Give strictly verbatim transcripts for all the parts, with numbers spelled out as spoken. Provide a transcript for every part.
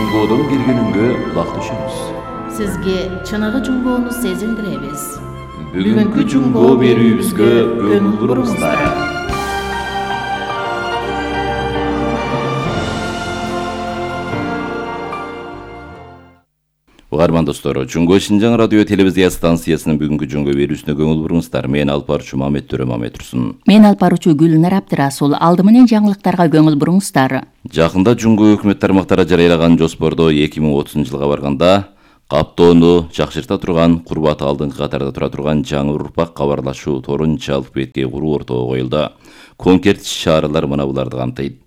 Жунгодон киргенүнгө кулак түшөбүз. Сизге чыныгы жунгоону сезиндиребиз. Бүгүнкү жунгоо берүүбүзгө көңүл буруңуздар. Угарман достор, Жунгоо Шинжаң радио телевизия станциясынын бүгүнкү жунгоо берүүсүнө көңүл буруңуздар. Мен алып баруучу Мамет Төрө Мамет Турсун. Мен алып баруучу Гүлнар Абдырасул. Алды менен жаңылыктарга көңүл буруңуздар. Жакында Жунгоо өкмөт тармактары жарыялаган жоспордо эки миң отузунчу жылга барганда каптоону жакшырта турган, курбаты алдыңкы катарда тура турган жаңы урпак кабарлашуу торун жалпы бетке куруу ортого коюлду. Конкрет иш-чаралар мына буларды камтыйт.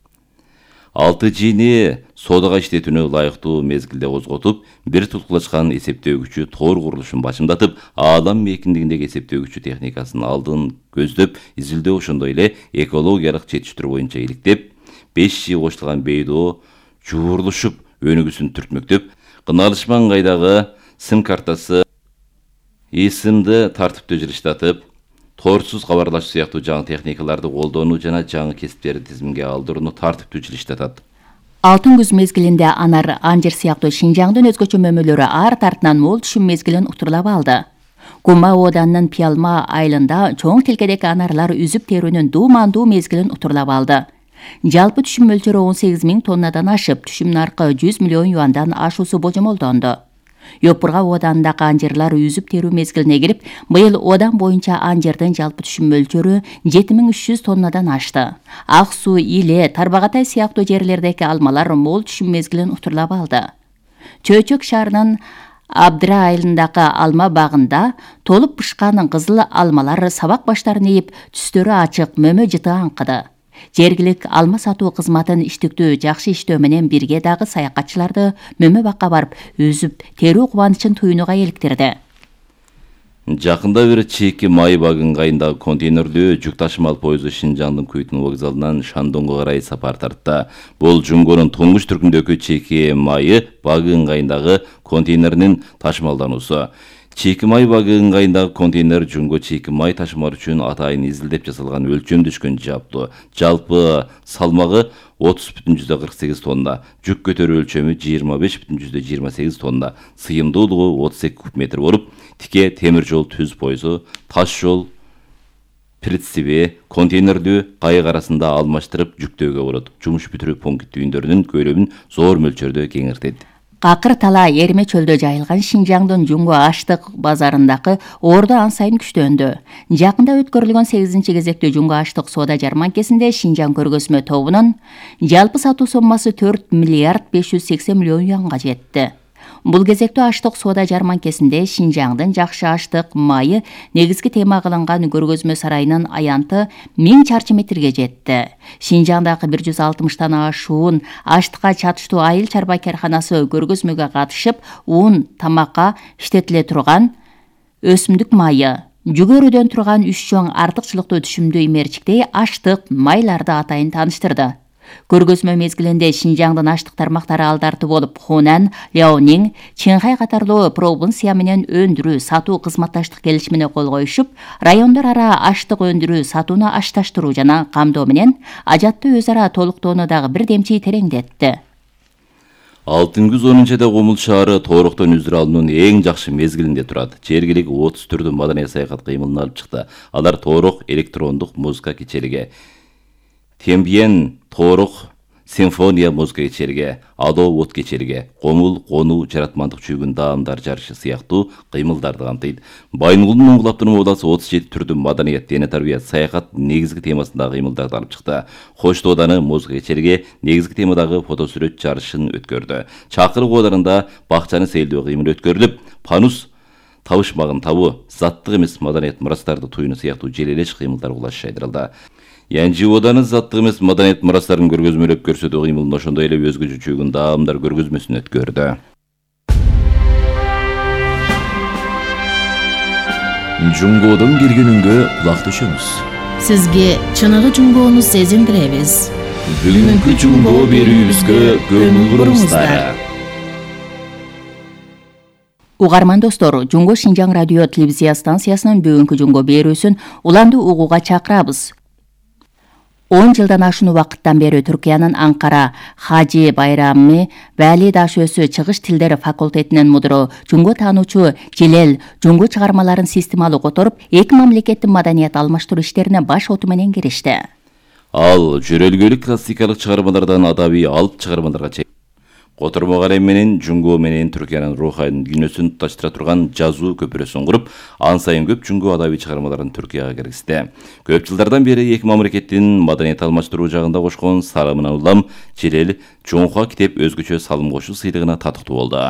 алты жийини соодага иштетүүнү ылайыктуу мезгилде козготуп, бир тулкулачкан эсептөөгүчү тор курулушун башымдатып, аалам мейкиндигиндеги эсептөөгүчү техникасынын алдын көздөп, изилдөө ошондой эле экологиялык жетиштирүү боюнча иликтеп, беш жий кочулган бейдоо жуурулушуп, өнүгүүсүн түртмөктөп, кыналышман кайдагы сим картасы ИСМди тартиптүү жылыштатып, торсуз кабарлашуу сыяктуу жаңы техникаларды колдонуу жана жаңы кесиптерди тизимге алдырууну тартиптүү жылыштатат. Алтын күз мезгилинде анар, анжир сыяктуу Шинжаңдын өзгөчө мөмөлөрү ар тартынан мол түшүм мезгилин утурлап алды. Кума Оданынын Пиалма айылында чоң тилкедеги анарлар үзүп терүүнүн дуумандуу мезгилин утурлап алды. Жалпы түшүм мөлчөрү он сегиз миң тоннадан ашып, түшүм наркы жүз миллион юандан ашуусу божомолдонду. Йопурга Оданындагы анжырлар үзүп терүү мезгилине кирип, быйыл Одан боюнча анжырдын жалпы түшүм мөлчөрү жети миң үч жүз тоннадан ашты. Ак суу, Иле, Тарбагатай сыяктуу жерлердеги алмалар мол түшүм мезгилин утурлап алды. Чөйчөк шаарынын Абдыра айылындагы алма багында толуп пышкан кызыл алмалар сабак баштарын ийип, түстөрү ачык, мөмө жыты аңкыды. Жергилик алма сатуу кызматын иштиктүү жакшы иштөө менен бирге дагы саякатчыларды мөмө бакка барып, өзүп терүү кубанычын туюнууга иликтирди. Жакында бир чийки май багы ыңгайындагы контейнерлүү жүк ташымал поезду Шинжаңдын Күйтүн вокзалынан Шандоңго карай сапар тартты. Бул Жунгонун туңгуч түркүндөгү чийки майы багы ыңгайындагы контейнеринин ташымалдануусу. Чийки май багы ыңгайындагы контейнер Жунгоо чийки май ташымар үчүн атайын изилдеп жасалган өлчөм түшкөн жаптуу. Жалпы салмагы отуз бүтүн жүздөн кырк сегиз тонна, жүк көтөрүү өлчөмү жыйырма беш бүтүн жүздөн жыйырма сегиз тонна, сыйымдуулугу отуз эки куб метр болуп, тике темир жол түз пойузу, таш жол прицеби контейнерлүү кайык арасында алмаштырып жүктөөгө болот. Жумуш бүтүрүү пункт түйүндөрүнүн көлөмүн зор мөлчөрдө кеңиртет. Какыр тала Эриме чөлдө жайылган Шинжаңдын Жунгоо аштык базарындагы ордо ан сайын күчтөндү. Жакында өткөрүлгөн сегизинчи кезектүү Жунгоо аштык соода жарманкесинде Шинжаң көргөзмө тобунун жалпы сатуу соммасы төрт миллиард беш жүз сексен миллион юанга жетти. Бул кезектүү аштык соода жарманкесинде Шинжаңдын жакшы аштык майы негизги тема кылынган көргөзмө сарайынын аянты миң чарчы метрге жетти. Шинжаңдагы бир жүз алтымыштан ашуун аштыкка чатыштуу айыл чарба карканасы көргөзмөгө катышып, ун, тамакка иштетиле турган өсүмдүк майы, жүгөрүдөн турган үч чоң артыкчылыктуу түшүмдүү имерчиктей аштык майларды атайын тааныштырды. Көргөзмө мезгилинде Шинжаңдын аштык тармактары алдарты болуп, Хунан, Ляонин, Чинхай катарлуу провинция менен өндүрүү сатуу кызматташтык келишимине кол коюшуп, райондор ара аштык өндүрүү сатууну ашташтыруу жана камдоо менен ажатты өз ара толуктоону дагы бир демчи тереңдетти. Алтын күз он жада Комул шаары Тооруктон үзүр алуунун эң жакшы мезгилинде турат. Жергилик отуз түрдүү маданий саякат кыймылына алып чыкты. Алар Тоорук электрондук музыка кечелиги, Тембиен Тоорук симфония музыка кечелиги, Адо от кечелиги, Комул конуу жаратмандык чүйгүн даамдар жарышы сыяктуу кыймылдарды камтыйт. Байынгулдун Оңгулаптын обласы отуз жети түрдүү маданият, дене тарбия, саякат негизги темасындагы кыймылдарды алып чыкты. Кош Тооданы музыка кечелиги негизги темадагы фотосүрөт жарышын өткөрдү. Чакырык Оодарында бакчаны сейилдөө кыймыл өткөрүлүп, Панус табышмагын табуу, заттык эмес маданият мурастарды туюну сыяктуу желелеш кыймылдар кулаш жайдырылды. Янжи Ооданы заттык эмес маданият мурастарын көргөзмөлөп көрсөтүү кыймылын ошондой эле өзгөчө чүйгүн даамдар көргөзмөсүн өткөрдү. Жунгоодон киргенүнгө кулак түшөбүз. Сизге чыныгы жунгоону сезиндиребиз. Бүгүнкү жунгоо берүүбүзгө көңүл буруңуздар. Угарман достор, Жунгоо Шинжаң радио телевизия станциясынын бүгүнкү жунгоо берүүсүн уланды угууга чакырабыз. он жылдан ашуун убакыттан бери Түркиянын Анкара Хажи Байрамы Вали Дашөсү чыгыш тилдери факультетинин мудуру, жунго таануучу Желел жунго чыгармаларын системалуу которуп, эки мамлекеттин маданият алмаштыруу иштерине баш оту менен киришти. Ал жөрөлгөлүк классикалык чыгармалардан адабий алып чыгармаларга чейин котормо калем менен жунго менен Түркиянын рухайын дүйнөсүн туташтыра турган жазуу көпүрөсүн куруп, ан сайын көп жунго адабий чыгармаларын Түркияга киргизди. Көп жылдардан бери эки мамлекеттин маданият алмаштыруу жагында кошкон сарымынан улам Желел Жоңхуа китеп өзгөчө салым кошуу сыйлыгына татыктуу болду.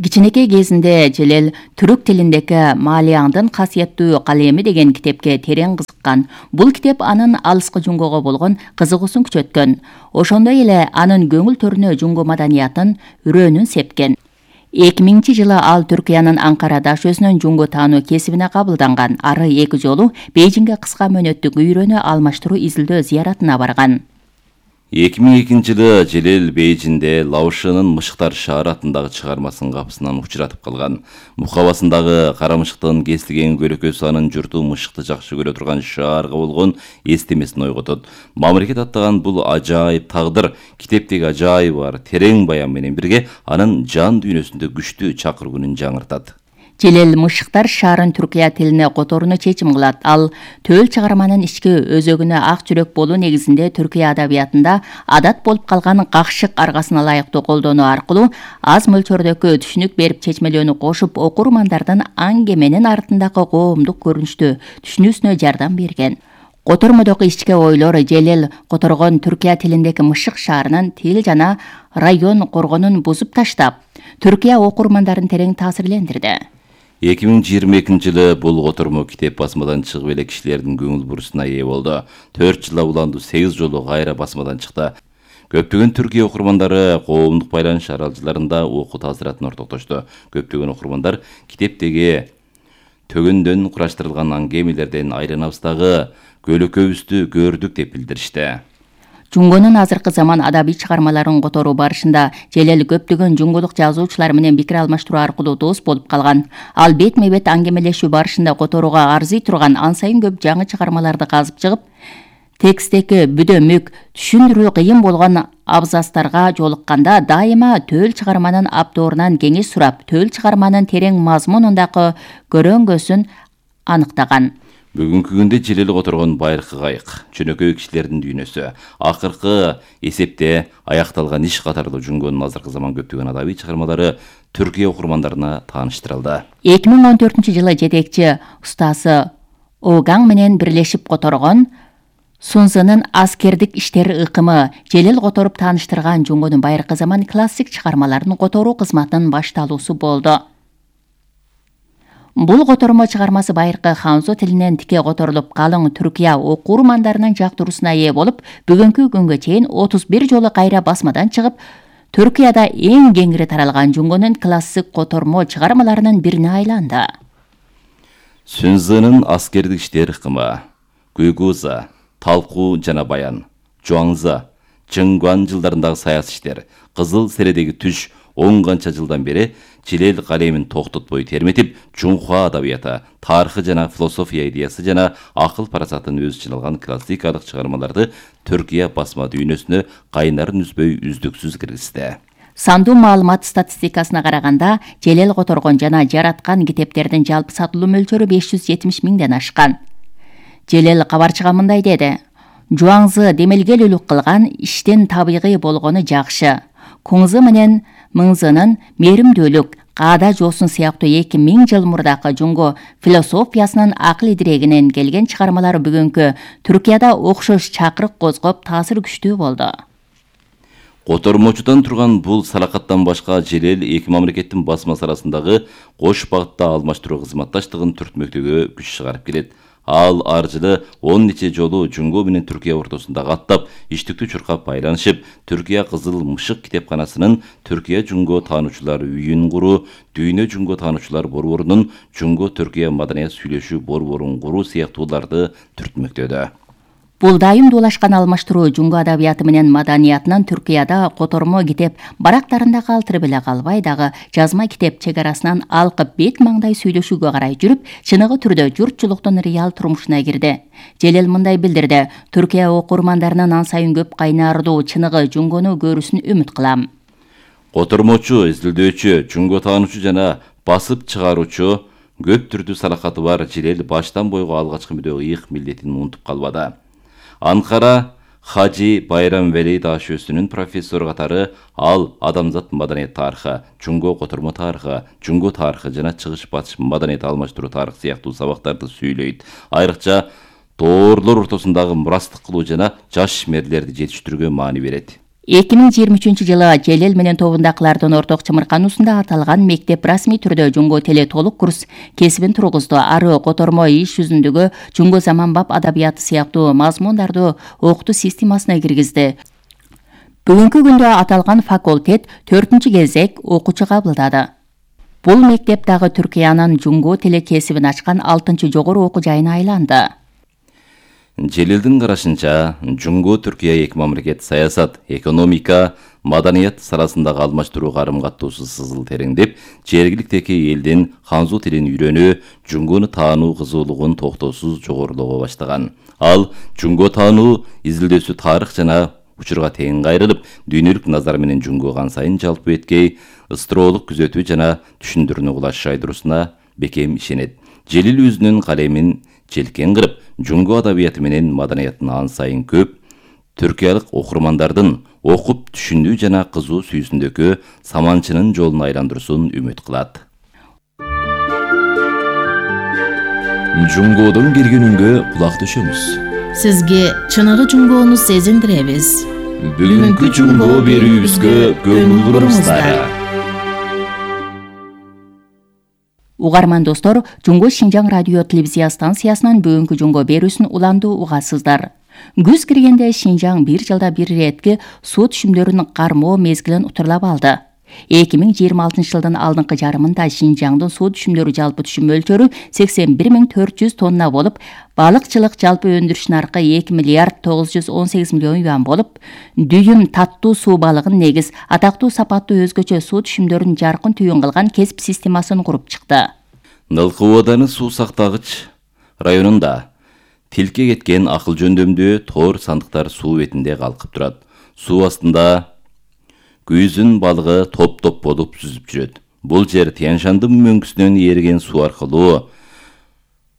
Кичинекей кезинде Желел түрк тилиндеги Малияңдын касиеттүү калеми деген китепке терең кызыккан. Бул китеп анын алыскы жунгого болгон кызыгуусун күчөткөн. Ошондой эле анын көңүл төрүнө жунго маданиятын үрөөнүн сепкен. эки миңинчи жылы ал Түркиянын Анкара Дашөсүнүн жунго таануу кесибине кабылданган. Ары эки жолу Бейжиңге кыска мөөнөттүк үйрөнүү алмаштыруу изилдөө зыяратына барган. эки миң экинчи жылы Желел Бейжиңде Лаошынын Мышыктар шаары атындагы чыгармасынын капысынан учуратып калган. Мукабасындагы кара мышыктын кесилген көрөкөсү анын журту мышыкты жакшы көрө турган шаарга болгон эстемесин ойготот. Мамлекет аттаган бул ажайып тагдыр китептеги ажайып бар терең баян менен бирге анын жан дүйнөсүндө күчтүү чакыргуунун жаңыртат. Желел Мышыктар шаарын Түркия тилине которууну чечим кылат. Ал төл чыгарманын ички өзөгүнө ак жүрөк болуу негизинде Түркия адабиятында адат болуп калган какшык аргасына ылайыктуу колдонуу аркылуу аз мөлчөрдөгү түшүнүк берип чечмелөөнү кошуп, окурмандардын аңгеменин артындагы коомдук көрүнүштү түшүнүүсүнө жардам берген. Котормодогу ички ойлор Желел которгон Түркия тилиндеги Мышык шаарынын тил жана район коргонун бузуп таштап, Түркия окурмандарын терең таасирлендирди. эки миң жыйырма экинчи жылы бул котормо китеп басмадан чыгып эле кишилердин көңүл бурусуна ээ болду. төрт жылга уланду сегиз жолу кайра басмадан чыкты. Көптөгөн Түркия окурмандары коомдук байланыш аралжаларында окуу таасиратын ортоктошту. Көптөгөн окурмандар китептеги төгөндөн кураштырылган аңгемелерден айланабыздагы көлөкөбүздү көрдүк деп билдиришти. Жунгонун азыркы заман адабий чыгармаларын которуу барышында Желел көптөгөн жунголук жазуучулар менен пикир алмаштыруу аркылуу дос болуп калган. Ал бетме бет аңгемелешүү барышында которууга арзый турган ан сайын көп жаңы чыгармаларды казып чыгып, текстеги бүдөмүк, түшүндүрүү кыйын болгон абзацтарга жолукканда дайыма төл чыгарманын авторунан кеңеш сурап, төл чыгарманын терең мазмунундагы көрөңгөсүн аныктаган. Бүгүнкү күндө Желел которгон байыркы кайык, жөнөкөй кишилердин дүйнөсү, акыркы эсепте аякталган иш катарлуу жунгонун азыркы заман көптөгөн адабий чыгармалары Түркия окурмандарына тааныштырылды. эки миң он төртүнчү жылы жетекчи устасы Огаң менен бирлешип которгон Сунзынын аскердик иштери ыкымы Желел которуп тааныштырган жунгонун байыркы заман классик чыгармаларын которуу кызматынын башталуусу болду. Бул котормо чыгармасы байыркы ханзо тилинен тике которулуп, калың Түркия окурмандарынын жактыруусуна ээ болуп, бүгүнкү күнгө чейин отуз бир жолу кайра басмадан чыгып, Түркияда эң кеңири таралган жунгонун классик котормо чыгармаларынын бирине айланды. Сунзынын аскердик иштери ыкымы, Гуйгуза, Талкуу жана баян, Жуаңза, Чыңгуан жылдарындагы саясий иштер, Кызыл середеги түш он канча жылдан бери Желел калемин токтотпой терметип, Жоңхуа адабияты, тарыхы жана философия идеясы жана акыл парасатын өз ичине алган классикалык чыгармаларды Түркия басма дүйнөсүнө кайнарын үзбөй үздүксүз киргизди. Сандуу маалымат статистикасына караганда, Желел которгон жана жараткан китептердин жалпы сатылуу мөлчөрү беш жүз жетимиш миңден ашкан. Желел кабарчыга мындай деди: Жуаңзы демелгелүүлүк кылган иштин табигый болгону жакшы. Куңзы менен Мыңзынын мээримдүүлүк, Каада жоосун сыяктуу эки миң жыл мурдакы жунго философиясынын акыл идирегинен келген чыгармалары бүгүнкү Түркияда окшош чакырык козгоп, таасир күчтүү болду. Котормочудан турган бул салакаттан башка Желел эки мамлекеттин басмасы арасындагы кош багытта алмаштыруу кызматташтыгын түртмөктөгө күч чыгарып келет. Ал ар жылы он нече жолу Жунго менен Түркия ортосунда каттап, иштиктүү чуркап байланышып, Түркия Кызыл Мышык китепканасынын Түркия Жунго таануучулар үйүн куруу, Дүйнө Жунго таануучулар борборунун Жунго Түркия маданият сүйлөшүү борборун куруу сыяктууларды түртмөктөдө. Бул дайым дуулашкан алмаштыруу жунго адабияты менен маданиятынын Түркияда котормо китеп барактарында калтырып эле калбай, дагы жазма китеп чек арасынан алкып бет маңдай сүйлөшүүгө карай жүрүп, чыныгы түрдө журтчулуктун реал турмушуна кирди. Желел мындай билдирди: Түркия окурмандарынын ан сайын көп кайнардуу чыныгы жунгону көрүүсүн үмүт кылам. Котормочу, изилдөөчү, жунго таануучу жана басып чыгаруучу көп түрдүү салакаты бар Желел баштан бойго алгачкы мүдө ыйык милдетин унутуп калбады. Анкара Хажи Байрамвели дашөөсүнүн профессору катары ал адамзат маданият тарыхы, жунго котормо тарыхы, жунго тарыхы жана чыгыш батыш маданият алмаштыруу тарыхы сыяктуу сабактарды сүйлөйт. Айрыкча тоорлор ортосундагы мурастык кылуу жана жаш ишмерлерди жетиштирүүгө маани берет. эки миң жыйырма үчүнчү жылы Желел менен тобундакылардын орток чымыркануусунда аталган мектеп расмий түрдө жунго тили толук курс кесибин тургузду. Ары котормо иш жүзүндөгү жунго заманбап адабияты сыяктуу мазмундарды окутуу системасына киргизди. Бүгүнкү күндө аталган факультет төртүнчү кезек окуучу кабылдады. Бул мектеп дагы Түркиянын жунго тили кесибин ачкан алтынчы жогору окуу жайына айланды. Желелдин карашынча, жунго Түркия эки мамлекет саясат, экономика, маданият саласындагы алмаштыруу карым-каттоосу сызыл тереңдеп, жергиликтеги элдин ханзу тилин үйрөнүү, жунгону таануу кызуулугун токтоосуз жогорулоого баштаган. Ал жунго таануу изилдөөсү тарых жана учурга тең кайрылып, дүйнөлүк назар менен жунгого ан сайын жалпы эткей, ыстыроолук күзөтүү жана түшүндүрүүнү кулаш айдыруусуна бекем ишенет. Желил өзүнүн калемин желкен кырып, жунго адабияты менен маданиятын ан сайын көп түркиялык окурмандардын окуп түшүндүү жана кызуу сүйүүсүндөгү саманчынын жолун айландыруусын үмүт кылат. Жунгодон келгенүнгө кулак төшөмүз. Сизге чыныгы жунгоону сезиндиребиз. Бүгүнкү жунго берүүбүзгө көңүл буруңуздар. Угарман достор, Жунго Шинжаң радио телевизия станциясынан бүгүнкү жунго берүүсүн уланду угасыздар. Күз киргенде Шинжаң бир жылда бир иретки суу түшүмдөрүн кармоо мезгилин утурлап алды. эки миң жыйырма алтынчы жылдын алдыңкы жарымында Шинжаңдын суу түшүмдөрү жалпы түшүм мөлчөрү сексен бир миң төрт жүз тонна болуп, балыкчылык жалпы өндүрүш наркы эки миллиард тогуз жүз он сегиз миллион юан болуп, дүйүм таттуу суу балыгын негиз, атактуу сапаттуу өзгөчө суу түшүмдөрүн жаркын түйүн кылган кесип системасын куруп чыкты. Нылкы Ооданы суу сактагыч районунда тилке кеткен акыл жөндөмдүү тоор сандыктар суу бетинде калкып турат. Суу астында күйүзүн балыгы топ-топ болуп сүзүп жүрөт. Бул жер Тянь-Шандын мөңгүсүнөн ээрген суу аркылуу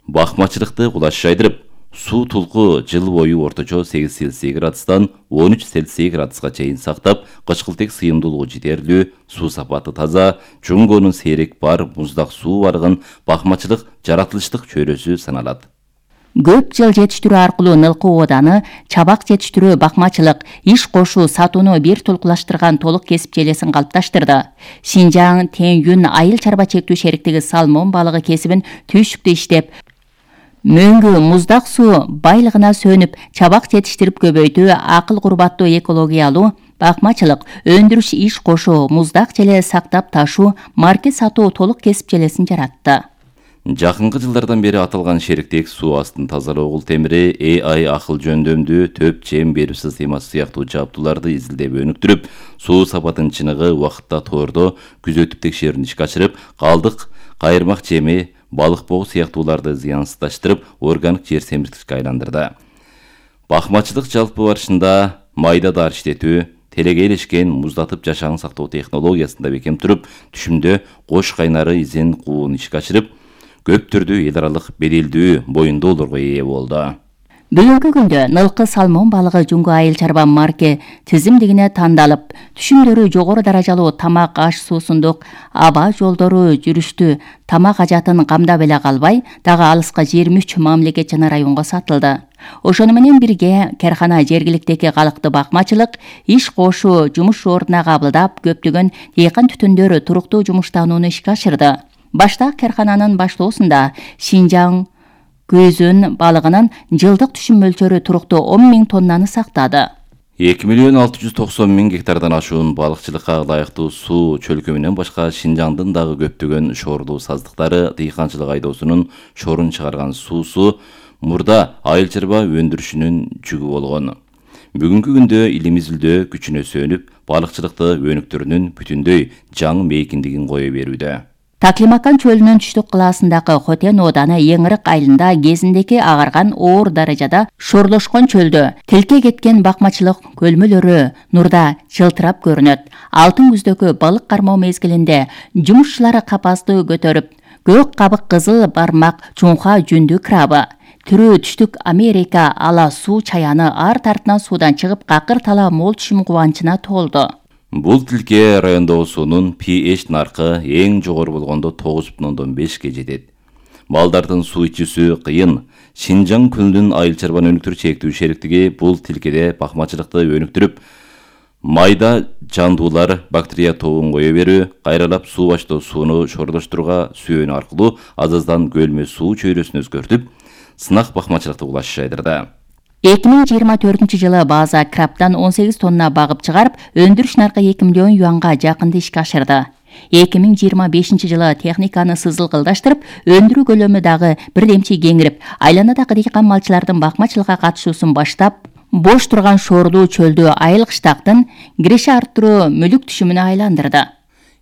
бакмачылыкты кулаш жайдырып, суу тулку жыл бою орточо сегиз Цельсий градустан он үч Цельсий градуска чейин сактап, кычкылтек сыйымдуулугу жетерлүү, суу сапаты таза, жунгонун сейрек бар муздак суу баргын бакмачылык жаратылыштык чөйрөсү саналат. Көп жыл жетиштирүү аркылуу Нылкы Ооданы чабак жетиштирүү, бакмачылык, иш кошуу, сатууну бир толкулаштырган толук кесип желесин калыпташтырды. Шинжаң Тянь-Юнь айыл чарба чектүү шериктиги салмон балыгы кесибин түйшүктүү иштеп, мөңгү муздак суу байлыгына сөнүп, чабак жетиштирип көбөйтүү, акыл курбаттуу экологиялуу бакмачылык, өндүрүш, иш кошуу, муздак желе сактап ташуу, маркет сатуу толук кесип желесин жаратты. Жакынкы жылдардан бери аталган шериктик суу астын тазалоо кул темири, эй ай акыл жөндөмдүү төп жем берүү системасы сыяктуу жабдууларды изилдеп өнүктүрүп, суу сапатын чыныгы убакытта тоордо күзөтүп текшерүүнү ишке ашырып, калдык, кайырмак жеми, балык боо сыяктууларды зыянсыздаштырып, органик жер семирткичке айландырды. Бакмачылык жалпы барышында майда дар иштетүү, телегейлешкен муздатып жашаан сактоо технологиясында бекем туруп, түшүмдө кош кайнары изин куун ишке ашырып, көп түрдүү эл аралык беделдүү боюндоолорго ээ болду. Бүгүнкү күндө Нылкы салмон балыгы Жунго айыл чарба марке тизимдигине тандалып, түшүмдөрү жогору даражалуу тамак, аш суусундук, аба жолдору жүрүштү, тамак ажатын камдап эле калбай, дагы алыска жыйырма үч мамлекет жана районго сатылды. Ошону менен бирге кархана жергиликтеги калыкты бакмачылык, иш кошуу, жумуш ордуна кабылдап, көптөгөн дыйкан түтүндөрү туруктуу жумуштанууну ишке ашырды. Башта кархананын баштоосунда Шинжаң көзүн балыгынын жылдык түшүм мөлчөрү туруктуу он миң тоннаны сактады. эки миллион алты жүз токсон миң гектардан ашуун балыкчылыкка ылайыктуу суу чөлкөмүнөн башка Шинжаңдын дагы көптөгөн шоорлуу саздыктары, дыйканчылык айдоосунун шорун чыгарган суусу, мурда айыл чарба өндүрүшүнүн жүгү болгон. Бүгүнкү күндө илим изилдөө күчүнө сөнүп, балыкчылыкты өнүктүрүүнүн бүтүндөй жаңы мейкиндигин кое берүүдө. Таклимакан чөлүнүн түштүк кылаасындагы Хотен ооданы Еңирик айылында кезиндеки агарган оор даражада шорлошкон чөлдө тилке кеткен бакмачылык көлмөлөрү нурда жылтырап көрүнөт. Алтын күздөгү балык кармоо мезгилинде жумушчулары капасты көтөрүп, көк кабык кызыл бармак чуңха жүндү крабы, түрүү түштүк Америка ала суу чаяны ар тартынан суудан чыгып какыр тала мол түшүм кубанычына толду. Бул тилке райондогу суунун pH наркы эң жогору болгондо тогуз бүтүн ондон бешке жетет. Балдардын суу ичүүсү кыйын. Шинжаң күнүнүн айыл чарбаны өнүктүрүү чектүү шериктиги бул тилкеде бакмачылыкты өнүктүрүп, майда жандуулар бактерия тобун кое берүү, кайралап суу баштоо сууну шорлоштурууга сүйөнүү аркылуу аз-аздан көлмө суу чөйрөсүн өзгөртүп, сынак бакмачылыкты улашыш айдырда. эки миң жыйырма төртүнчү жылы база крабтан он сегиз тонна багып чыгарып, өндүрүш наркы эки миллион юанга жакынды ишке ашырды. эки миң жыйырма бешинчи жылы техниканы сызылгылдаштырып, өндүрүү көлөмү дагы бирдемче кеңирип, айланадагы дыйкан малчылардын бакмачылыкка катышуусун баштап, бош турган шоорлуу чөлдү айыл кыштактын киреше арттыруу мүлүк түшүмүнө айландырды.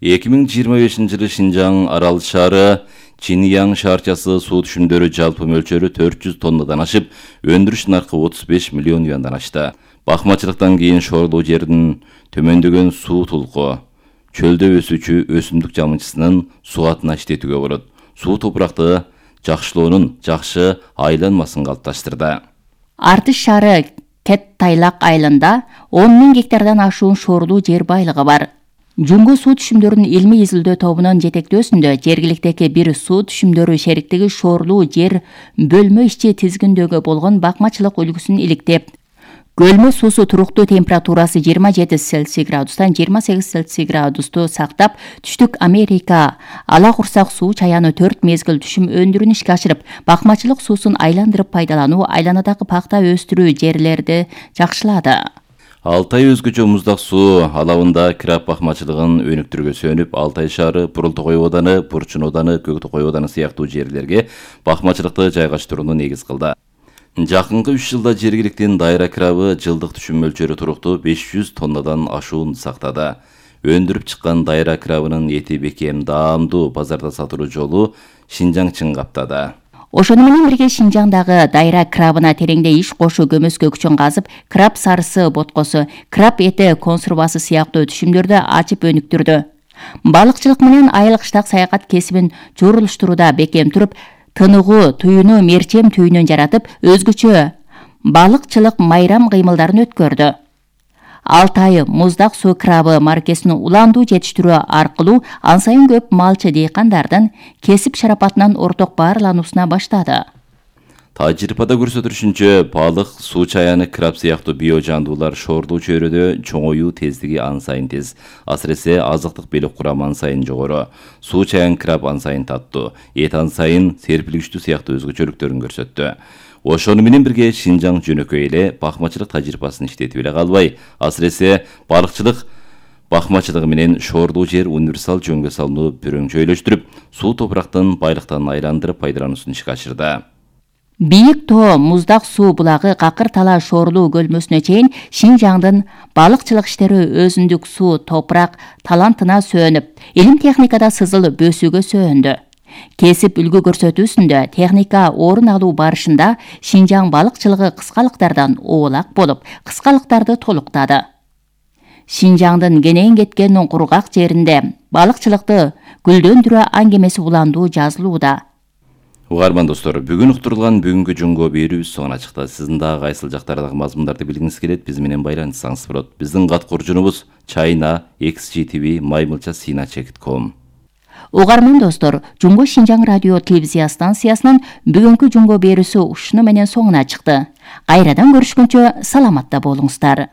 эки миң жыйырма бешинчи жылы Шинжаң арал шаары Чиньяң шаарчасы суу түшүмдөрү жалпы мөлчөрү төрт жүз тоннадан ашып, өндүрүш наркы отуз беш миллион юандан ашты. Бакмачылыктан кийин шоорлуу жердин төмөндөгөн суу тулку, чөлдө өсүүчү өсүмдүк жамынчысынын суатына иштетүүгө болот. Суу топуракты жакшылоонун жакшы айланмасын калыпташтырды. Артыш шаары Кет Тайлак айылында он миң гектардан ашуун шоорлуу жер байлыгы бар. Жумго суу түшүмдөрүнүн илмий изилдөө тобунун жетектөөсүндө жергиликтеги бир суу түшүмдөрү шериктиги шоорлуу жер бөлмө ишчи тизгиндөөгө болгон бакмачылык үлгүсүн иликтеп, көлмө суусу туруктуу температурасы жыйырма жети Цельсий градустан жыйырма сегиз Цельсий градусту сактап, түштүк Америка ала курсак суу чаяны төрт мезгил түшүм өндүрүүнү ишке ашырып, бакмачылык суусун айландырып пайдалануу, айланадагы пакта өстүрүү жерлерди жакшылады. Алтай өзгөчө муздак суу алабында краб бакмачылыгын өнүктүрүүгө сөнүп, Алтай шаары, Бурултокой ооданы, Бурчун ооданы, Көктөкой ооданы сыяктуу жерлерге бакмачылыкты жайгаштырууну негиз кылды. Жакынкы үч жылда жергиликтин дайра крабы жылдык түшүм мөлчөрү туруктуу беш жүз тоннадан ашуун сактады. Өндүрүп чыккан дайра крабынын эти бекем, даамдуу, базарда сатылуу жолу Шинжаң чың каптады. Ошону менен бирге Шинжаңдагы дайра крабына тереңде иш кошу көмөскө күчүн казып, краб сарысы боткосу, краб эти консервасы сыяктуу түшүмдөрдү ачып өнүктүрдү. Балыкчылык менен айыл кыштак саякат кесибин журулуштурууда бекем туруп, тыныгуу туюну мерчем түйүнөн жаратып, өзгөчө балыкчылык майрам кыймылдарын өткөрдү. Алтай муздак суу крабы маркесин уландуу жетиштирүү аркылуу ан сайын көп малчы дыйкандардын кесип шарапатынан орток баарлануусуна баштады. Тажрыйбада көрсөтүлүшүнчө, балык, суу чаяны, краб сыяктуу био жандуулар шоорлуу чөйрөдө чоңоюу тездиги ан сайын тез. Асыресе азыктык белек курамы ан сайын жогору. Суу чаян краб ан сайын таттуу, эт ан сайын серпилгичтүү сыяктуу өзгөчөлүктөрүн көрсөттү. Ошону менен бирге Шинжаң жөнөкөй эле бакмачылык тажрыйбасын иштетип эле калбай, асыресе балыкчылык бакмачылыгы менен шоорлуу жер универсал жөнгө салууну пүрөңчөйлөштүрүп, суу топурактын байлыктан айландырып пайдалануусун ишке ашырды. Бийик тоо муздак суу булагы какыр тала шоорлуу көлмөсүнө чейин Шинжаңдын балыкчылык иштери өзүндүк суу топурак талантына сөөнүп, илим техникада сызыл бөсүүгө сөөндү. Кесип үлгү көрсөтүүсүндө техника орун алуу барышында Шинжаң балыкчылыгы кыскалыктардан оолак болуп, кыскалыктарды толуктады. Шинжаңдын кенен кеткен кургак жеринде балыкчылыкты гүлдөндүрүү аңгемеси уландуу жазылууда. Угарман достор, бүгүн уктурулган бүгүнкү жунго берүүбүз соңуна чыкты. Сиздин дагы кайсыл жактардагы мазмундарды билгиңиз келет, биз менен байланышсаңыз болот. Биздин кат куржунубуз China X G T V маймылча сина чек ком. Угарман достор, Жунго Шинжаң радио телевизия станциясынын бүгүнкү жунго берүүсү ушуну менен соңуна чыкты. Кайрадан көрүшкөнчө саламатта болуңуздар.